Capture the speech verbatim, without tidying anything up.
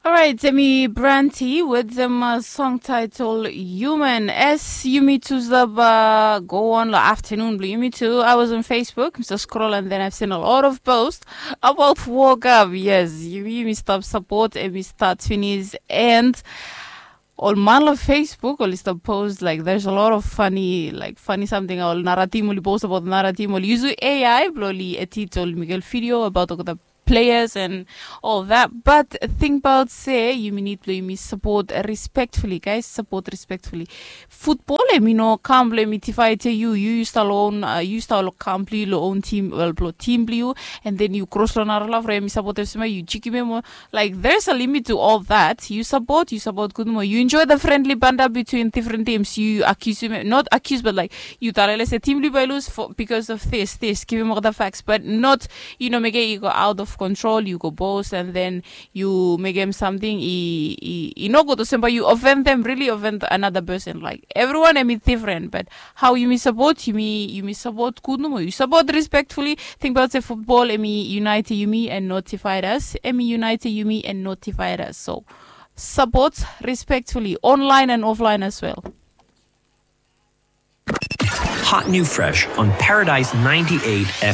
Orait, emi Branti with them uh, song title Human. As yumi tu stap uh, go on lo afternoon blo yumi tu. I was on Facebook, Mister Scroll, and then I've seen a lot of posts about woke up. Yes, yumi yumi stap support emi start finish and ol man lo Facebook oli stap post like there's a lot of funny like funny something ol naratim oli post about naratim oli yusu A I blo oli edit ol miguel video about olgeta players and all that. But think about se yumi need blo yumi support respectfully, guys, support respectfully. Football emi no kam blo emi tifaet ia yu yu yu stap lo own uh, yu stap lo kam blo yu lo own team well blo team blo yu, and then yu cross lo nara love ro emi support ef sema yu chikim em. Like there's a limit to all that. You support, you support good mo. You enjoy the friendly banter between different teams. You accuse him, not accuse, but like you talele se team blo yu bai lose for, because of this, this. Give him all the facts, but not you know make it you go out of control. You go boast and then you make him something. He he he no good to somebody. You offend them, really offend another person. Like everyone, I mean different, but how yumi support yumi yumi support good nomo. You support respectfully. Think about se football emi unite yumi and notified us. Emi unite yumi and notified us. So support respectfully online and offline as well. Hot new fresh on Paradise ninety-eight F M.